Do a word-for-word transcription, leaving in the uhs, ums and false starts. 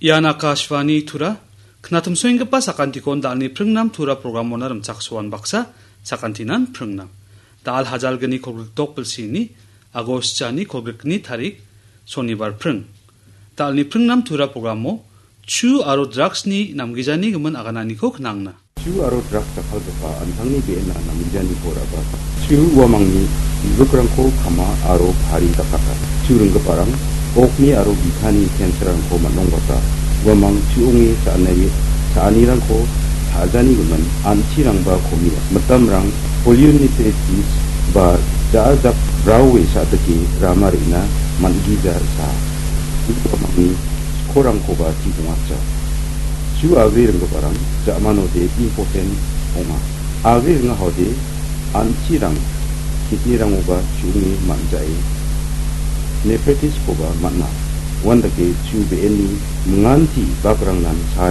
Ian Akashvani Tura, knatumsoenggipa sakantikon dalni pringnam Tura programona rimchaksoan baksa, sakantinan pringnam. Dal hajalgni kolgrikdok bilsini, Agost jani kolgrikni tarik, Sonibar pring. Dalni pringnam Tura programo, chu aro drugsni namgijani gimin agananiko knangna. Chu aro drugs jakkalgipa an·tangni be·ena namgijaniko ra·bata. Chu uamangni bibikrangko kama aro pari dakata. Chu ringgiparang okni aro bitani cancer-rangko man·ongbata. Uamang chu ong·e cha·ani-, cha·anirangko cha·jani gimin an·chirangba komia. Mitamrang polyunitysis ba ja·a jak braoe cha·dike rama re·na man·gija sa. Uamangni skorangkoba chi ong·atja. Chu agre ringgiparang ja·manode impotent ong·a. Agre ringahode an·chirang kidney-rangoba chu·onge man·jae nephritis-koba man·a. Uandake chu be·eni minganti bakrangnan sa